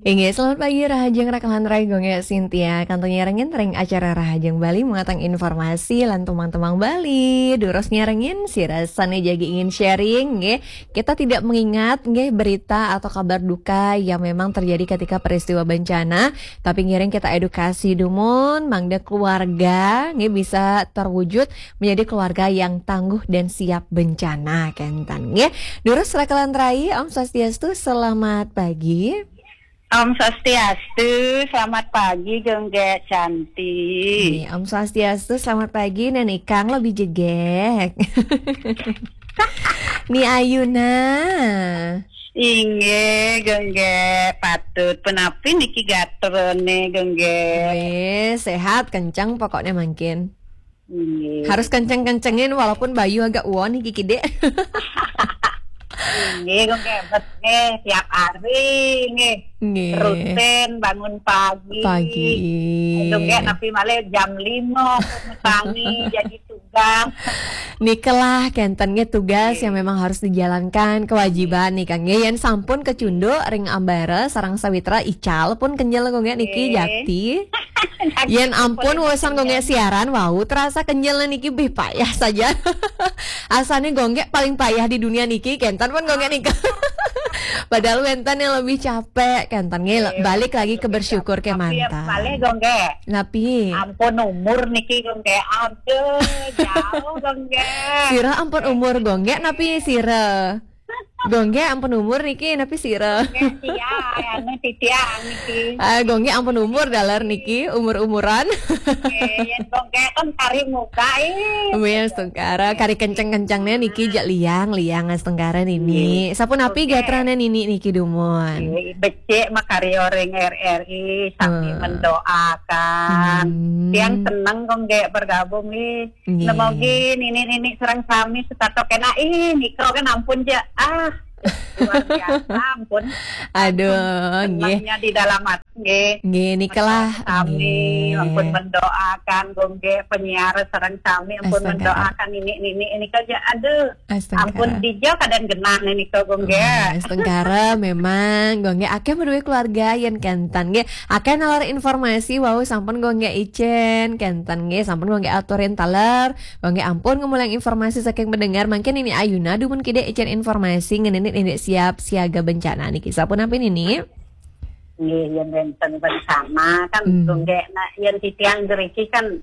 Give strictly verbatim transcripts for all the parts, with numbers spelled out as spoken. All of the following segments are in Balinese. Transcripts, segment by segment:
Inggih, selamat pagi Rahajeng Rakalan Rai Gongge Sintia. Kantun nyarengin ring acara Rahajeng Bali muatan informasi lan tumang-tumang Bali. Durus nyarengin sira sane jagi ingin sharing nggih. Kita tidak mengingat nggih berita atau kabar duka yang memang terjadi ketika peristiwa bencana, tapi ngiring kita edukasi dumun mangda keluarga nggih bisa terwujud menjadi keluarga yang tangguh dan siap bencana kenten nggih. Durus Rakalan Rai, Om Swastiastu, selamat pagi. Om Swastiastu, selamat pagi Gongge Cantik. Nggih, Om Swastiastu, selamat pagi Nenek Kang lebih jegek. Ni Ayuna. Inggih, Gongge, patut. Punapi niki gatrane, Gongge? Wis, sehat, kenceng pokoknya mangkin. Inggih. Harus kenceng-kencengin walaupun bayu agak uon niki kide. Inggih, Gongge, bet nggih tiap hari nggih. Nggih. Rutin bangun pagi. Pagi. Gongge napi malih jam lima pun tangi jadi tugas. Nikelah kenten nggih tugas yang memang harus dijalankan, kewajiban nih Kang nggih. Yen sampun kecunduk ring ambara sareng sawitra ical pun kenjel Gongge niki. Nggih. Jakti. Yen ampun wesan Gongge siaran wau terasa kenjel niki bih payah saja. Asane Gongge paling payah di dunia niki kenten pun Gongge nika. Padahal wenten yang lebih capek kenten nggih. Nggih, balik lagi ke lebih bersyukur capek. Tapi ya kemanten. Balik Gongge. Napi? Ampun umur niki Gongge. Aduh, jauh Gongge. Sira ampun umur Gongge napi sira? Gongge ampun umur niki napi sira? Gongge sia, anu titiang niki. Ah, Gongge ampun umur dalar niki, umur-umuran. Nggih, yen Gongge kan kari muka, ih. Wis, astungkara, kari kenceng-kencengnya niki jak liang, liang astungkara nini. Nggih. Sapunapi gatrane nini niki dumun? Nggih, becik makarya ring R R I, sami mendoakan. Hmm. Tiang seneng Gongge bergabung nggih. Nggih. Nemogi nini-nini sareng sami setata kenak. Ih, nika kan ampun ja. Ah, luar biasa ampun. Aduh, nggih. Senangnya di dalam hati nggih. Nggih, nikalah. Sami, nggih. Ampun mendoakan Gongge penyiar sareng sami ampun mendoakan nini-nini nika ja. Aduh. Astungkara. Ampun dija kadang genah nika Gongge. Oh, astungkara memang Gongge akeh meruwe keluarga yen kenten nggih. Akeh nalar informasi wau sampun Gongge icen kenten nggih, sampun Gongge aturin taler. Gongge ampun ngemulang informasi saking mendengar mangkin ini Ayuna dumun kide icen informasi ngenini indik siap siaga bencana niki. Sapunapi nini? Nggih, yen wenten bencana kan Gongge nak yen titiang ngriki kan,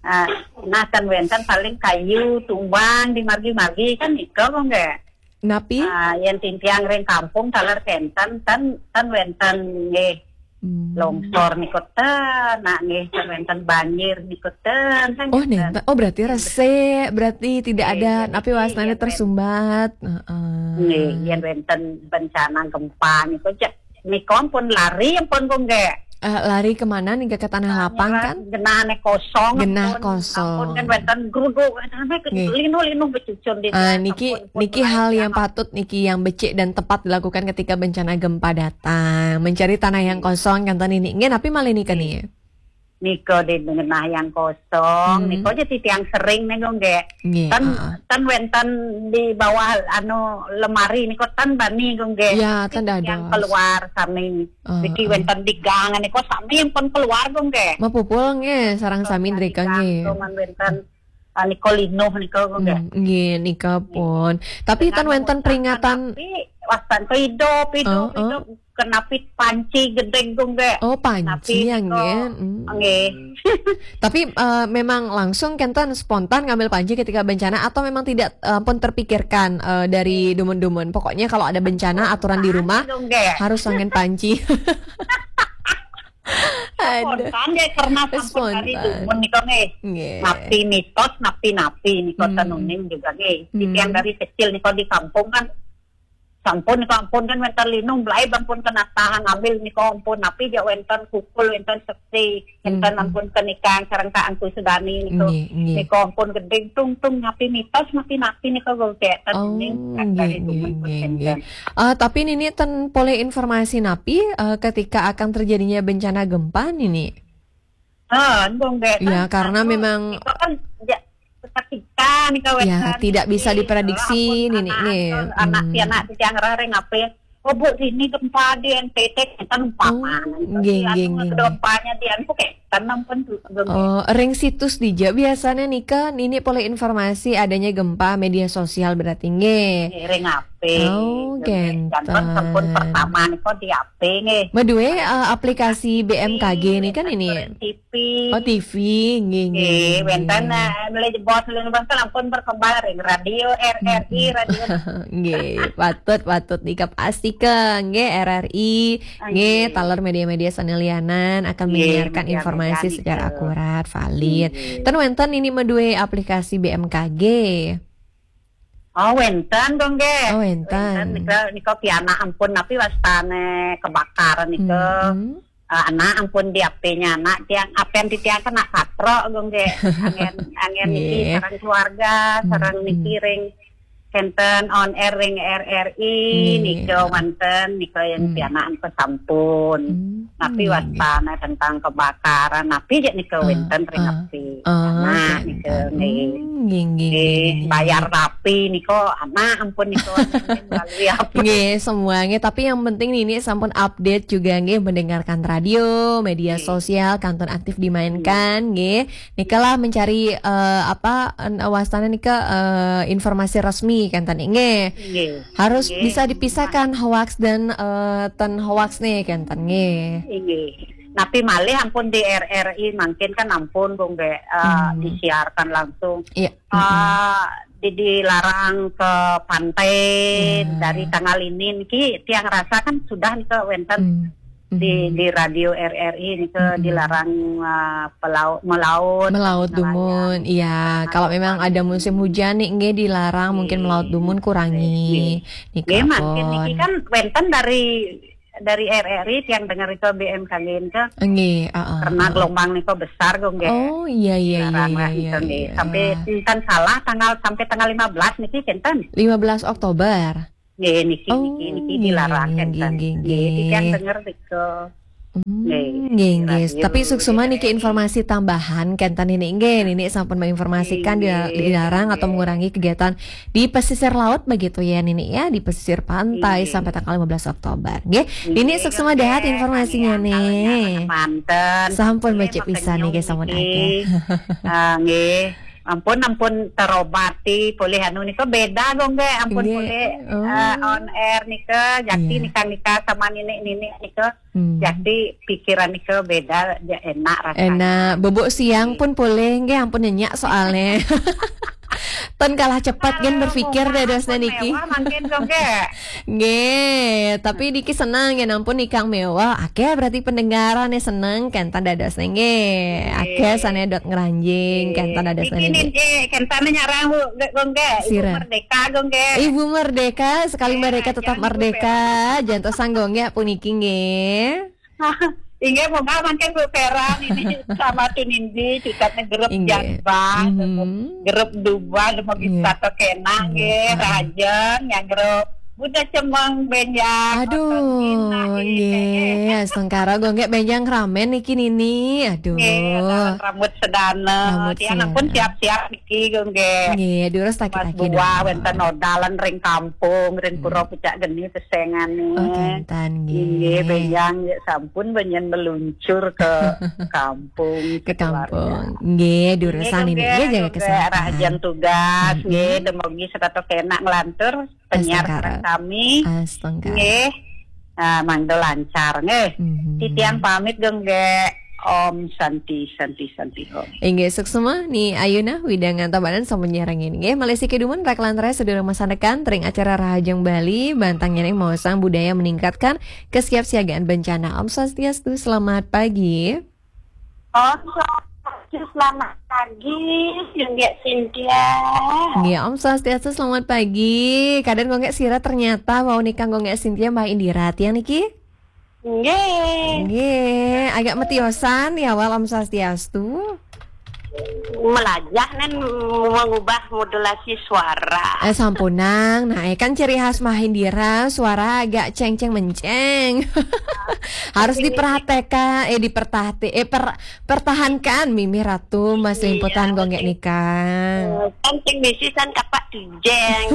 ah, nah kan wenten paling kayu tumbang di margi-margi kan nika Gongge. Napi? Ah, yen titiang ring kampung taler kenten ten ten wenten nggih. Hmm. Longsor niku ten, nak nggih ten wenten banjir niku ten kan. Oh, nenten. Oh, berarti resik, berarti tidak ada napi wasnane tersumbat. Heeh. Nggih, yen wenten bencana gempa niku cek niku pun lari pun Gongge. Eh, lari kemana nih, ke tanah lapang kan? Genah kosong. Genah kosong. Ampun kan wenten gruduk, wenten linu-linu becucun di. Ah, niki, ampun, niki hal yang patut niki yang becik dan tepat dilakukan ketika bencana gempa datang. Mencari tanah yang kosong kan tadi nih. Nggih, napi malih nika nih? Nika di genah yang kosong, nika aja titiang sering nih Gongge. Nggih, kan, heeh. Kan wenten di bawah anu lemari nika kan bani Gongge. Ya, kan ada. Yang keluar sami. Heeh, niki wenten di gang niku sami pun keluar Gongge. Mapupul nggih, sareng sami drika nggih. Cuman wenten, ah, niku linuh niku Gongge. Hmm, nggih, nika pun. Tapi ten wenten peringatan. Tapi wastan ke idup, idup, idup. Kenapi panci gedeg Gongge. Oh, panci ya nggih. Hmm. Nggih. Tapi, eh, memang langsung kenten spontan ngambil panci ketika bencana atau memang tidak, eh, pun terpikirkan, eh, dari dumun-dumun? Pokoknya kalau ada bencana, aturan di rumah harus angin panci. Aduh. Spontan ya, karena sampun dari dumun nika nggih. Nggih. Napi mitos, napi-napi nika tenuning juga nggih. Titiang dari kecil nika di kampung kan sampun, sampun kan wenten linu, mlaib ampun kena tahan ambil nika ampun, napi ja wenten kukul, wenten seksi, wenten ampun kenikang sareng Kak Angku Sudani niku. Nggih, nggih. Nika ampun gedeng tung tung napi mitos, napi napi nika Gongge. Oh, nggih, nggih, nggih. Eh, tapi nini ten polih informasi napi, eh, ketika akan terjadinya bencana gempa nini? Ah, Gongge. Ya, karena memang nika kan ja, seketika nika wenten. Ya, tidak bisa diprediksi nini nggih. Anak pianak titiang rareng ape. "Oh, Bu, ini gempa di N T T," kita lupa. Oh, mana itu nggih, sih, nggih, anu, nggih, nggih. Gempanya di anu, kayak tenang pun tuh, belum. Oh, ring situs dija biasanya nika, ini polih informasi adanya gempa media sosial berarti nggih. Nggih, ring H P. Oh, nggih. Dan kan genten. Sampun pertama nika di H P nggih. Madue, eh, aplikasi B M K G ini kan ini. T V. Oh, T V, nggih, nggih, nggih, nggih. Wenten, eh, mulai jebos lima belas tahun ampun berkembang ring radio R R I, mm-mm, radio. Nggih, patut, patut dikapastika, nggih, R R I, ah, nggih, nggih, taler media-media sane lianan akan, nggih, menyiarkan media-media informasi secara nika akurat, valid. Nggih. Ten wenten ini madue aplikasi B M K G. Oh, wenten, Gong, nggih. Oh, wenten. Wenten, nika, nika pianak ampun, napi wastane kebakaran nika. Mm-mm. Eh, anak ampun di H P-nya anak tiang, apen di tiang kena katrok, Gong, nggih. Angen, angen niki, nggih, sareng keluarga, sareng, mm-mm, niki ring kenten on air ring R R I, nggih, nika wenten, nika yang, mm, pianak ampun sampun. Mm, napi, nggih, nggih, wastane tentang kebakaran, napi je nika, ah, wenten ring, ah, H P. Ah, anak, nggih, nika, nggih. Hmm, nggih, nggih, nggih, nggih, bayar nggih. Tapi nika, anak ampun nika, melalui apa? Nggih, semua nggih. Tapi yang penting nini sampun update juga nggih, mendengarkan radio, media, nggih, sosial, kantun aktif dimainkan, nggih. Nggih. Nika lah mencari, eh, apa, en-, wastane nika, eh, informasi resmi kenten nggih. Nggih. Harus, nggih, bisa dipisahkan hoax dan, eh, ten hoax nih kenten nggih. Nggih. Napi malih ampun di R R I mangkin kan ampun, Gong, nggih, eh, hmm, disiarkan langsung. Iya. Mm-mm. Eh, di, dilarang ke pantai, ya, dari tanggal ini niki tiang rasa kan sudah nika wenten, mm-mm, di, di radio R R I nika, mm-mm, dilarang, eh, pelau-, melaut, melaut nelayan, dumun, iya. Nah, kalau memang ada musim hujan nih, nggih, dilarang mungkin melaut dumun, kurangi. Nggih. Nika, nggih, mangkin niki pun kan wenten dari dari R R I tiang dengar itu B M K G itu. Nggih, heeh, karena heeh, gelombang niku besar, Gong, nggih. Oh, iya, iya, iya, dilarang iya, lah iya, itu, nggih, iya. Sampai enten salah tanggal, sampai tanggal lima belas niki kenten. Lima belas Oktober. Nggih, niki, oh, niki, niki nggih, dilarang nggih, kenten. Nggih, nggih, nggih, nggih, tiang dengar niku. Hmm, nggih, nggih, nggih. Tapi radio suksma niki, nggih, informasi tambahan kenten ini nggih, nini sampun menginformasikan dila-, nggih, dilarang atau, nggih, mengurangi kegiatan di pesisir laut begitu ya, Nini, ya, di pesisir pantai, iya, sampai tanggal lima belas Oktober, nggih. Iya, Nini, suksma dahat informasinya, nih. Manten. Sampun, iya, becik pisan, nih, nggih, sampun niki. Ah, nggih. Ampun, ampun terobati, polih anu nika beda, Gong, nggih. Ampun, nggih, polih, oh, eh, on air nika, jakti, iya, nika, nika sama Nini, Nini nika. Hmm. Jadi pikiran nika beda, ya enak rasanya. Enak. Bubuk siang pun boleh, nggih, ampun nyenyak soalnya. Ten kalah cepat, gen berpikir dadosnya niki. Mewah mangkin, Gong, nggih. Nggih, tapi niki senang ya, ampun nikang mewah. Oke, berarti pendengaran nih senang, kenten dadosnya nggih. Oke, nggih, sane dot ngranjing, nggih, kenten dadosnya niki niki. Nggih, kenten nyarang, Bu, Gong, nggih. Ibu Merdeka, Gong, nggih. Ibu Merdeka, sekali merdeka tetap merdeka. Jantos sanggo nggih, puniki nggih. Inggih, moga mangkin Bu Peran ini sama Tunindi, cicatnya grup Janbah, grup Dubah, demo kita to kena, nggih, Rajen, yang grup Buddha Cemeng, Benjang, aduh, nggih, astungkara, Gong, nggih, Benjang ramen niki, Nini, aduh. Nggih, rambut sedana. Rambut sedana. Tiang ampun siap-siap niki, Gong, nggih. Nggih, durus tak kita. Wenten odalan ring kampung, ring pura pucak geni pesengane. Oh, kenten, nggih. Nggih, Benjang, ya sampun, Benjang meluncur ke kampung, ke kampung. Nggih, durus niki, nggih, jaga kesehatan. Rahajen tugas, nggih, demogi setata kena nglantur penyiar sareng kami. Astungkara. Nggih. Ah, mangda lancar, nggih. Titiang pamit, Gong, nggih. Om Santi, Santi, Santi, Om. Inggih, suksma, Ni Ayuna, wewidangan Tabanan sampun nyarengin, nggih. Malih siki dumun, rak lantaran sedurung masanekan, ring acara Rahajeng Bali, bantang nyening maosang budaya meningkatkan kesiapsiagaan bencana. Om Swastiastu, selamat pagi. Om Swastiastu, selamat pagi, Gong Cynthia. Nggih, Om Swastiastu, selamat pagi. Kadang Gong Cynthia ternyata wau nikang Gong Cynthia Mbak Indira tiang niki. Nggih. Nggih, agak metiosan ya, wal Om Swastiastu. Melajah nen mengubah modulasi suara. Eh, sampunang. Nah, eh, kan ciri khas Mbah Indira, suara agak ceng-ceng menceng. Harus diperhatikan, eh, dipertahti-, eh, per-, pertahankan, Mimi Ratu, Mas Iya, Limputan, Gonggek betul. Nikah. Eh, kan sing misi san kapak tujeng.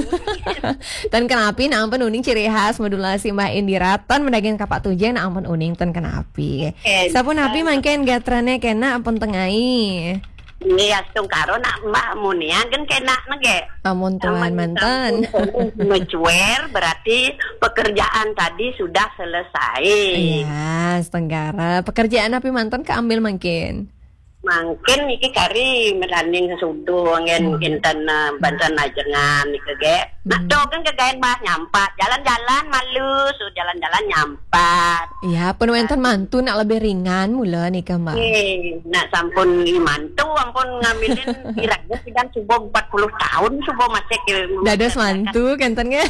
Tan kenapi, nah ampun uning ciri khas modulasi Mbah Indira. Tan mendagang kapak tujeng, nah ampun uning tan kenapi. Eh, Sapunapi eh. Mangkin gatrane kena ampun tengai. Iya, astungkara nak Mbah Munia kan kena nege. Amun tuan Amun mantan. Sampun mecuer, berarti pekerjaan tadi sudah selesai. Iya, astungkara. Pekerjaan api mantan keambil mangkin? Mangkin iki kari meranding sesudo ngen Hmm. inten, eh, banten ajengan nike ge. Nah, Hmm. to kan kegaen Mbah nyampat. Jalan-jalan malu, su jalan-jalan nyampat. Iya, pun wenten mantu nak lebih ringan mula nika, Mbah. Eh, nak sampun mantu ampun ngambilin kiranya sidang subuh empat puluh tahun subuh masih ke Dados mantu kenten nggih.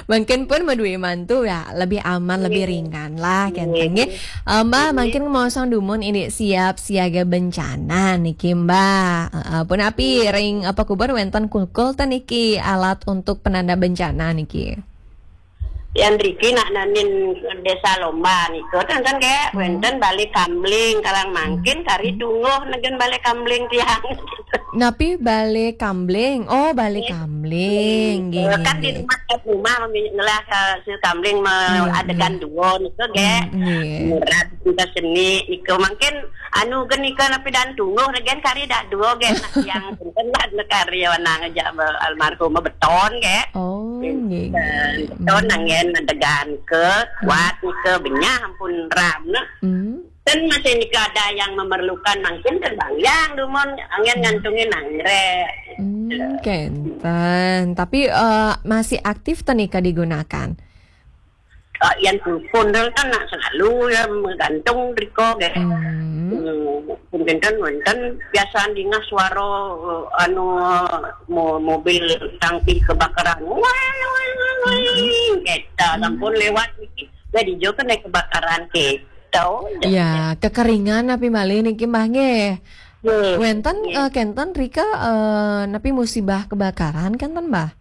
Mungkin pun madue mantu ya, lebih aman, lebih Nggih. ringan lah kenten Nggih. nggih. Eh, Mbah, Nggih. Mungkin mau sang dumun ini siap siaga bencana niki, Mbah. Heeh, pun api ring apa kubur wenten kulkul ten niki alat untuk penanda bencana niki. Yang riki nak nanin Desa Lomba nika, ten, ten, kayak Hmm. wenten Bale Kambling, Karang Mangkin, Hmm. kari tungguh negen Bale Kambling tiang. Napi Bale Kambling? Oh, Bale Nggih. Kambling. Nggih, Eh, nggih, kan di nggih. Rumah, rumah mami-, ngelah, eh, si Kambling me-, Hmm, adegan hmm. dua nika, ge. Hmm, nggih. Murah nika seni nika. Mungkin anu gen nika napi dan tungguh regen kari dah dua, ge. Nak yang punten lah, nak kari wanang aja be-, almarhum beton, ge. Oh, nggih, nggih. Beton Hmm. angin adegan ke Hmm. kuat nika benyah ampun ram, nah. Hmm. Ten masih nika ada yang memerlukan mungkin terbang yang dumun angin Hmm. ngantungin anggrek. Hmm, kenten. Tapi, eh, masih aktif ten nika digunakan? Eh, yang telepon tu kan nak selalu ya menggantung riko, ge. Hmm. Hmm, mungkin kan wenten biasa dingah suara, eh, anu, mo-, mobil tangki kebakaran. Wah, wah, wah, wah. Hmm. Kita Hmm. sampun lewat niki. Jadi jo kena kebakaran kita. Ya, kekeringan api malih niki, Mbah, nggih. Nggih. Wenten, Nggih. eh, kenten rika, eh, napi musibah kebakaran kenten, Mbah?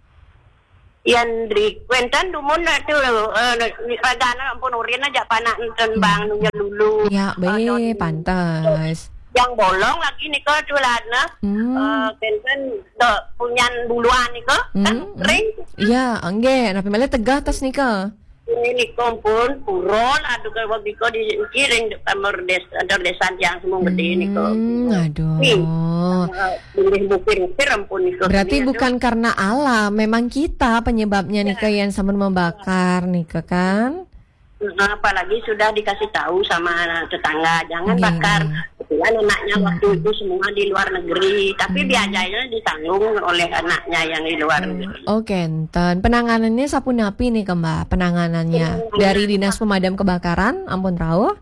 Yan ri-, wenten dumun tu, eh, ragana ampun urin aja panak enten Hmm. bang nunya lulu. Ya, Eh, be, don-, pantes. Yang bolong lagi nika tu lah, nah. Hmm. Eh, kenten do punyan buluan nika, kan Hmm. ring. Ya, nggih, napi malih tegah tas nika? Ini nika ampun, purol, aduh, kalau biko di kiring di kamar des-, kantor desa yang semua gede nika. Hmm, aduh. Nih, eh, boleh bukir-bukir ampun nika. Berarti Ini, aduh. Bukan karena alam, memang kita penyebabnya nika Ya. Yang sambil membakar nika kan? Nah, apalagi sudah dikasih tahu sama tetangga, "Jangan Nggih, bakar." Nggih. Kebetulan anaknya Hmm. waktu itu semua di luar negeri, tapi Hmm. biayanya ditanggung oleh anaknya yang di luar Hmm. negeri. Oh, kenten. Penanganannya sapunapi nika, Mbah? Penanganannya Penanganan dari Dinas Pemadam Kebakaran, ampun rauh?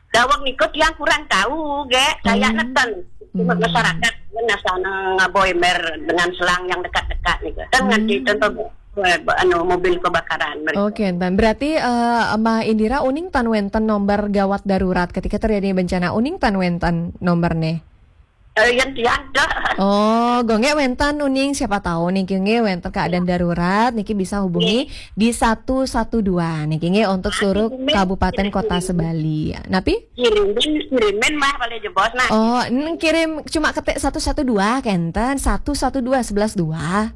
Daweg nika tiang kurang tahu, ge. Kayak Hmm. Neten. Cuma Hmm. masyarakat kan asal ngaboi mer dengan selang yang dekat-dekat nika. Kan Hmm. nganti tentu, eh, anu, mobil kebakaran mereka. Oke, kenten. Berarti, eh, Mbah Indira uning tan wenten nomor gawat darurat ketika terjadi bencana, uning tan wenten nomornya? Eh, yang tiada. Oh, gonggek wenten uning, siapa tahu niki nggih wenten keadaan darurat niki bisa hubungi Nggih. Di satu satu dua niki nggih untuk Nah, seluruh kirimin, kabupaten kota kirimin. Sebali. Napi? Kirimin, kirimin mah paling jebos, nah. Oh, n-, kirim cuma ketik satu satu dua kenten, satu satu dua sebelas dua.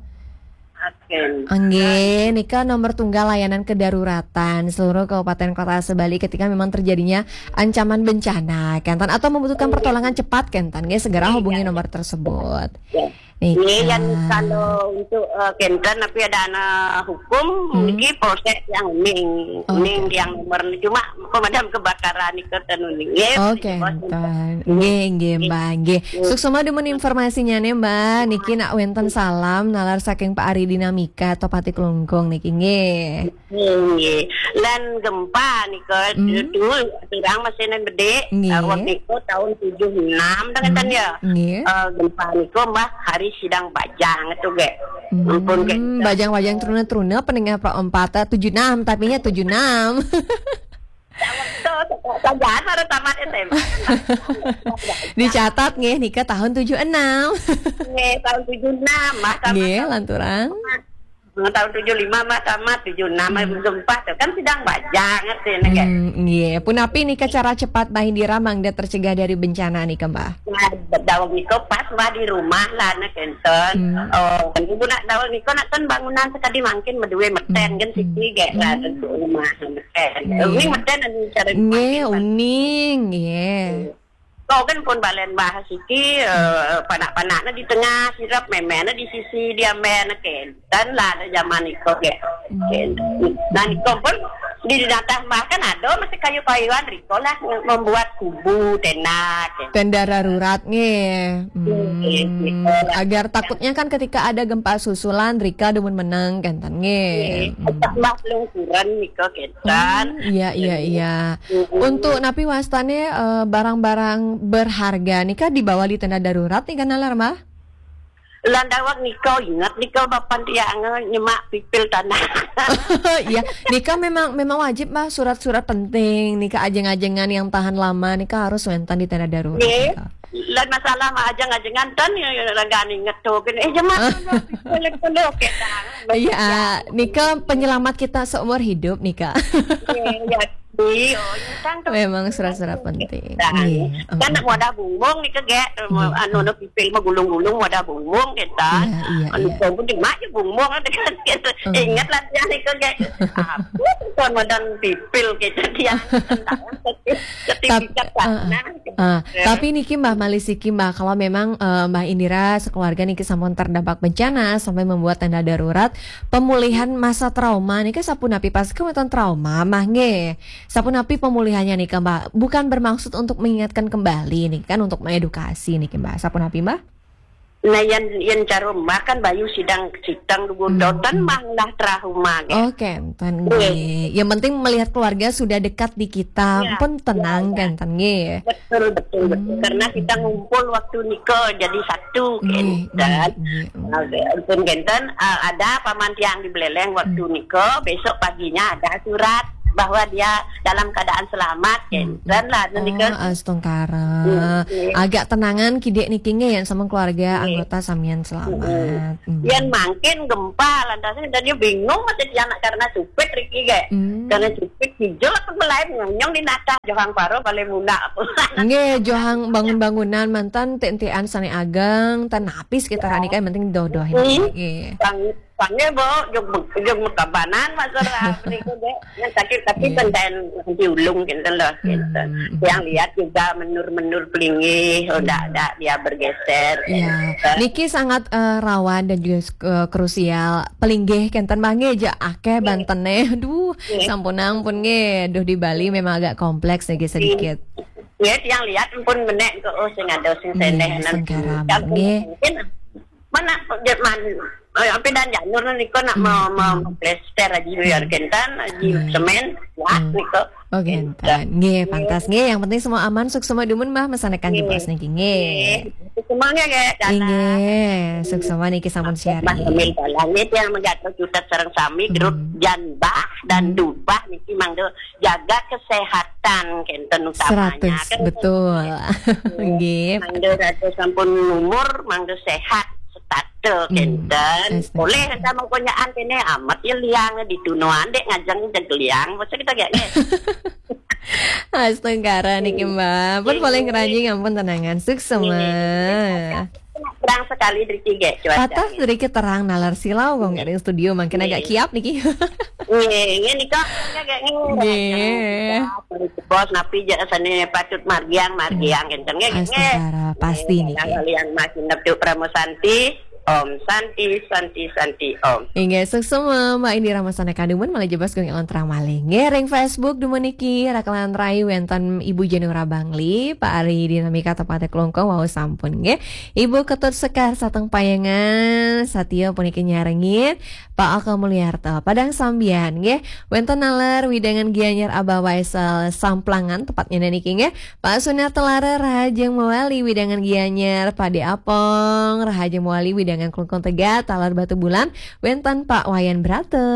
Oke. Nggih, nika nomor tunggal layanan kedaruratan seluruh kabupaten kota Sebali ketika memang terjadinya ancaman bencana, kenten, atau membutuhkan Iya. pertolongan cepat, kenten, nggih, segera Iya. Hubungi nomor tersebut. Ya. Nika. Ini yang kalau untuk, eh, kenten, tapi ada anak hukum, Hmm. niki polsek yang uning, Oh, uning oke. Yang nomor cuma pemadam kebakaran nika ten uning. Ya, Oh, di bawah kenten. Nggih, nggih, Mbak, nggih. Nggih. Suksma dumun informasinya nih, Mbak. Niki nak wenten salam nalar saking Pak Ari Dinamika, Topati Klungkung niki, nggih. Nggih. Lan gempa nika Hmm. dulu turang masih nan bedik. Nggih. Tahun nika tahun tujuh enam dah kenten Hmm. Ya. Nggih. Eh, gempa nika Mbah hari sidang bajang tu, ge. Hmm. Ampun, ge. Bajang-bajang truna-truna pendengar Pak Empat, eh, tujuh enam, tapinya tujuh enam. Dah waktu Jangan baru tamat S M A. Dicatat nggih nika tahun tujuh enam. Nggih, tahun tujuh enam, Mbah, tamat. Nggih, tahun lanturang. Tahun tujuh lima, Mbah, tamat tujuh enam, hmm, tujuh empat tuh kan sidang bajang ngerti nih, kan? Hmm, nggih. Punapi nika cara cepat Mbah Indira mangda tercegah dari bencana nika, Mbah? Nah, daweg nika pas Mbah di rumah lah, nah, kenten. Hmm. Oh, ibu nak daweg nika nak kan bangunan sekadi mangkin medue meten, hmm, kan, hmm, siki gek lah, hmm, tentu rumah meten. Nggih. Ini meten anu cara nggih, mangkin, Mbah. Uning, nggih. Kau kan pun balen Mbah siki, eh, panak-panaknya di tengah, sirap memena di sisi dia men, kenten lah ada zaman iko gek. Hmm. Kenten. Nah, iko pun di datah Mbah kan ada masih kayu-kayuan, riko lah membuat kubu, tenda, kenten. Tenda darurat nggih. Hmm, nggih, nggih. Agar takutnya kan ketika ada gempa susulan, rika dumun menang, kenten nggih. Nggih. Hmm. Mbah pelungkuran niko, kenten. Hmm, iya, iya, iya. Mm-mm. Untuk napi wastane, eh, barang-barang berharga nika dibawa di tenda darurat nika nalar, Mbah? Lan daweg nika inget nika bapan tiang nyemak pipil tanah. Iya, nika memang, memang wajib, Mbah, surat-surat penting nika, ajeng-ajengan yang tahan lama nika harus wenten di tenda darurat. Nggih. Nika. Lan masalah mah ajeng-ajengan ten ya, ya, lenggah inget tuh, gini, eh, jemak dulu, pipil dulu, oke, dah. Iya, nika penyelamat kita seumur hidup nika. Nggih, ya. Iya, iya, kan tuh. Memang surat-surat penting. Nah, nggih, kan, mm, wadah bumbung nih, kegek, nggih, anu, mm, no, pipil mah gulung-gulung wadah bumbung kita. Iya, iya, anu, iya. Kamu di mana bumbung ada kan gitu. Mm. Ingat lah dia nih, kegek. Apa tuh wadah pipil kita dia? Tentang sertifikat. Tap-, sana. Ah, ah. Ya. Tapi niki Mbah, malih siki Mbah, kalau memang, eh, Mbah Indira sekeluarga niki sampun terdampak bencana sampai membuat tenda darurat, pemulihan masa trauma niki sapunapi, pas kemudian trauma Mbah nggih. Sapunapi pemulihannya nih, Mbah? Bukan bermaksud untuk mengingatkan kembali nih, kan untuk mengedukasi nih, Mbah. Sapunapi, Mbah? Nah, yang, yang cara Mbah kan bayu sidang, sidang dugun, hmm, dotan, hmm, Mbah lah trauma, kan? Oke, enten, iya, nggih. Yang penting melihat keluarga sudah dekat di kita, iya, pun tenang, iya, iya, kan, enten, nggih. Betul, betul, betul. Hmm. Karena kita ngumpul waktu nika jadi satu, nggih, kan? Nggih, nggih. Oke, ampun, kenten, eh, ada paman tiang di Beleleng waktu, hmm, nika, besok paginya ada surat bahwa dia dalam keadaan selamat, hmm, kenten lah, nika. Oh, astungkara. Hmm, iya. Agak tenangan kidik niki nggih, yang sama keluarga, nggih, anggota samian selamat. Hmm. Hmm. Yang mangkin gempa lantasnya dan dia bingung masih dia anak karena supit riki, gek. Hmm. Karena supit hijau apa lain ngonyong di natah johang paro paling muna. Nggih, johang bangun-bangunan mantan tentian sane ageng, tan napis kita, ya, rani kan penting doh-doh ini. Hmm. Nggih. Sang-, sange bo, jog, jog mekabanan masalah niku, gek. Yang sakit tapi, iya, benten diulung gitu loh, gitu. Hmm, hmm. Yang lihat juga menur-menur pelinggih, oh, hmm, ndak, ndak dia bergeser. Iya. Gitu. Niki sangat, eh, rawan dan juga, eh, krusial. Pelinggih kenten mangke ja akeh, iya, bantene. Aduh, iya, sampun ampun nggih. Duh, di Bali memang agak kompleks nggih sedikit. Iya, yang lihat pun menek ke, oh, sing ada sing, iya, seneh, nang sengkarama, kan nggih. Mungkin mana, man, eh, apa dan janur niku nak, hmm, mau, mau, hmm, plester aja, hmm, biar kenten aja, hmm, semen, wah, hmm, niku. Oh, kenten. Nggih, pantas. Nggih, yang penting semua aman, suksma dumun, Mbah, mesanekan, nggih, jebos niki, nggih. Nggih. Suksma nggih, nggih, dalam. Nggih, suksma niki sampun sharing. Mbah Emil Dalang nggih, yang menggatur juta sareng sami, grup, hmm, Janbah dan, hmm, Dubah niki mangga jaga kesehatan kenten utamanya. Seratus, kan, betul. Nggih. Mangga rada sampun umur, mangga sehat, setata, hmm, kenten. Astaga. Boleh sama konyaan kene amat ya liang di tunuan dek ngajeng jeg liang. Masa kita gak, nggih? Astungkara niki, hmm, Mbak. Pun, nggih, boleh ngeranjing ampun tenangan. Suksma. Nggih. Terang sekali dari tiga cuaca. Patah sedikit terang nalar silau kok nggak ada yang studio, makin, nggih, agak kiap niki. Nggih, nggih, nika, nggih, nggih, nggih. Nggih. Bos, napi ja sane patut margiang, margiang, hmm, kenten, nggih, nggih. Astungkara, pasti nggih, niki. Hal yang masih neptuk Pramu Santi, Om Santi, Santi, Santi, Om. Inggih, suksma, Mbak Indira Masana Kandumun, malah jebas gong elon terang malih. Nggih, ring Facebook, dumun niki, Rakelan Rai, wenten Ibu Jenura Bangli, Pak Ari Dinamika, tepate Klungkung, wau sampun, nggih. Ibu Ketut Sekar, sateng payangan, satia puniki nyarengin, Pak Aka Mulyarta, Padang Sambian, nggih. Wenten nalar, widangan Gianyar Abah Waisel, Samplangan, tepatnya niki, nggih. Pak Sunar Telara, Rahajeng Mawali, widangan Gianyar, Pak De Apong, Rahajeng Mawali, widangan Klungkung Tegat, talar Batu Bulan, wenten Pak Wayan Brata.